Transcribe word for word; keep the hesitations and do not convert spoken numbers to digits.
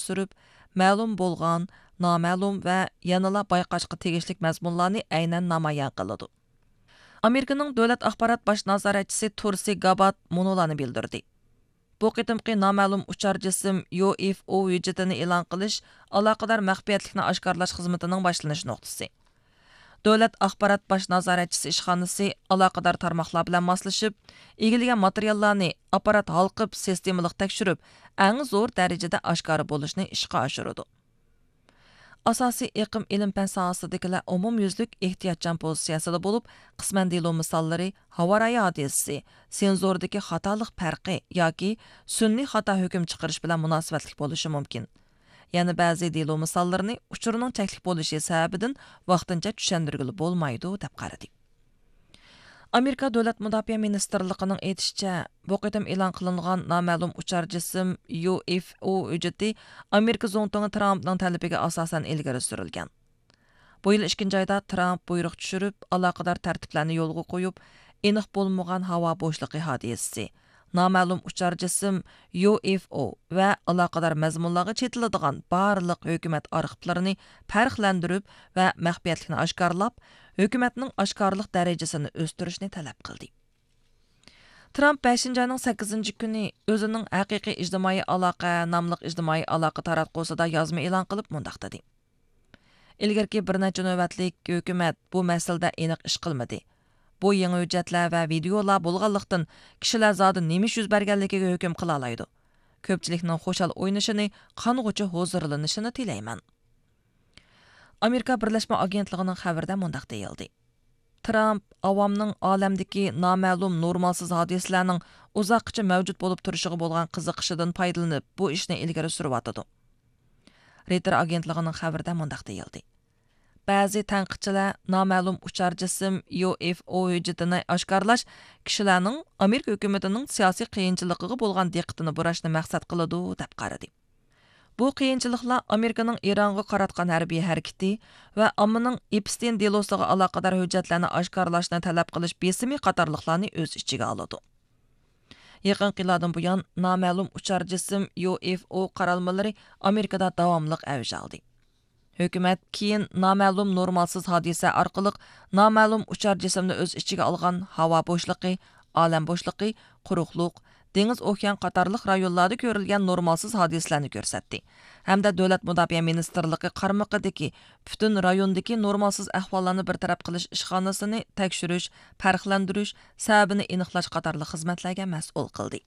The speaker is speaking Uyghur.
ئالماشتۇرۇپ، مەلۇم بولغان، نامەلۇم ۋە يەنىلا بايقاشقا تېگىشلىك مەزمۇنلارنى ئەينەن نامايان قىلىدۇ. ئامېرىكىنىڭ دۆلەت ئاخبارات باش نازارەتچىسى تۇرسى گابات مۇنۇلارنى بىلدۈردى: بۇ قېتىمقى نامەلۇم ئۇچار جىسىم يۇ ئېف ئو ھۆججىتىنى ئېلان قىلىش ئالاقىدار مەخپىيەتلىكنى ئاشكارىلاش خىزمىتىنىڭ باشلىنىش نۇقتىسى. دۆلەت ئاخبارات باش نازارەتچىسى ئىشخانىسى ئالاقىدار تارماقلار بىلەن ماسلىشىپ، ئىگىلىگەن ماتېرىياللارنى ئاپپارات ھالقىپ، سىستېمىلىق تەكشۈرۈپ، ئەڭ زور دەرىجىدە ئاشكارا بولۇشنى ئىشقا ئاشۇرىدۇ. ئاساسىي ئېقىم ئىلىم-پەن ساھەسىدىكىلەر ئومۇميۈزلۈك ئېھتىياتچان پوزىتسىيەسىدە بولۇپ، قىسمەن دېلو مىساللىرى ھاۋارايى ھادىسىسى، سېنزوردىكى خاتالىق پەرقى ياكى سۈنئىي خاتا ھۆكۈم چىقىرىش بىلەن مۇناسىۋەتلىك بولۇشى مۇمكىن. يەنە بەزى دېلو مىساللىرىنى ئۇچۇرنىڭ چەكلىك بولۇشى سەۋەبىدىن ۋاقتىنچە چۈشەندۈرگىلى بولمايدۇ، دەپ قارىدى. ئامېرىكا دۆلەت مۇداپىئە مىنىستىرلىقىنىڭ ئېيتىشىچە، بۇ قېتىم ئېلان قىلىنغان نامەلۇم ئۇچار جىسىم يۇ ئېف ئو ھۆججىتى ئامېرىكا زۇڭتۇڭى ترامپنىڭ تەلىپىگە ئاساسەن ئىلگىرى سۈرۈلگەن. بۇ يىل ئىككىنچى ئايدا ترامپ بۇيرۇق چۈشۈرۈپ، ئالاقىدار تەرتىپلەرنى يولغا قويۇپ، ئېنىق بولمىغان ھاۋا بوشلۇقى ھادىسىسى، نامەلۇم ئۇچار جىسىم يۇ ئېف ئو ۋە ئالاقىدار مەزمۇنلارغا چېتىلىدىغان بارلىق ھۆكۈمەت ئارخىپلىرىنى پەرقلەندۈرۈپ ۋە مەخپىيەتلىكنى ئاشكارىلاپ، ھۆكۈمەتنىڭ ئاشكارىلىق دەرىجىسىنى ئۆستۈرۈشنى تەلەپ قىلدى. ترامپ بەشىنچى ئاينىڭ سەككىزىنچى كۈنى ئۆزىنىڭ ھەقىقىي ئىجتىمائىي ئالاقە ناملىق ئىجتىمائىي ئالاقە تاراتقۇسىدا يازما ئېلان قىلىپ مۇنداق دېدى: ئىلگىرىكى بىر نەچچە نۆۋەتلىك ھۆكۈمەت بۇ مەسىلىدە ئېنىق ئىش قىلمىدى. بۇ يېڭى ھۆججەتلەر ۋە ۋىدېئولار بولغانلىقتىن، كىشىلەر زادى نېمە ئىش يۈز بەرگەنلىكىگە ھۆكۈم قىلالايدۇ. كۆپچىلىكنىڭ خۇشال ئوينىشىنى، قانغۇچە ھۇزۇرلىنىشىنى تىلەيمەن. ئامېرىكا بىرلەشمە ئاگېنتلىقىنىڭ خەۋىرىدە مۇنداق دېيىلدى: ترامپ ئاۋامنىڭ ئالەمدىكى نامەلۇم نورمالسىز ھادىسىلەرنىڭ ئۇزاققىچە مەۋجۇت بولۇپ تۇرۇشىغا بولغان قىزىقىشىدىن پايدىلىنىپ، بۇ ئىشنى ئىلگىرى سۈرۈۋاتىدۇ. رېيتېر ئاگېنتلىقىنىڭ خەۋىرىدە مۇنداق دېيىلدى: بەزى تەنقىدچىلەر نامەلۇم ئۇچار جىسىم يۇ ئېف ئو ھۆججىتىنى ئاشكارىلاش كىشىلەرنىڭ ئامېرىكا ھۆكۈمىتىنىڭ سىياسىي قىيىنچىلىقىغا بولغان دىققىتىنى بۇراشنى مەقسەت قىلىدۇ، دەپ قارىدى. بۇ قىيىنچىلىقلار ئامېرىكىنىڭ ئىرانغا قاراتقان ھەربىي ھەرىكىتى ۋە ئاممىنىڭ ئېپستېين دېلوسىغا ئالاقىدار ھۆججەتلەرنى ئاشكارىلاشنى تەلەپ قىلىش بېسىمى قاتارلىقلارنى ئۆز ئىچىگە ئالىدۇ. يېقىنقى يىللاردىن بۇيان، نامەلۇم ئۇچار جىسىم يۇ ئېف ئو قارالمىلىرى ئامېرىكىدا داۋاملىق ئەۋج ئالدى. ھۆكۈمەت كېيىن نامەلۇم نورمالسىز ھادىسە ئارقىلىق نامەلۇم ئۇچار جىسىمنى ئۆز ئىچىگە ئالغان ھاۋا بوشلۇقى، ئالەم بوشلۇقى، قۇرۇقلۇق، دېڭىز ئوكيان قاتارلىق رايونلاردا كۆرۈلگەن نورمالسىز ھادىسىلەرنى كۆرسەتتى ھەمدە دۆلەت مۇداپىئە مىنىستىرلىقى قارمىقىدىكى پۈتۈن رايوندىكى نورمالسىز ئەھۋاللارنى بىر تەرەپ قىلىش ئىشخانىسىنى تەكشۈرۈش، پەرقلەندۈرۈش، سەۋەبىنى ئېنىقلاش قاتارلىق خىزمەتلەرگە مەسئۇل قىلدى.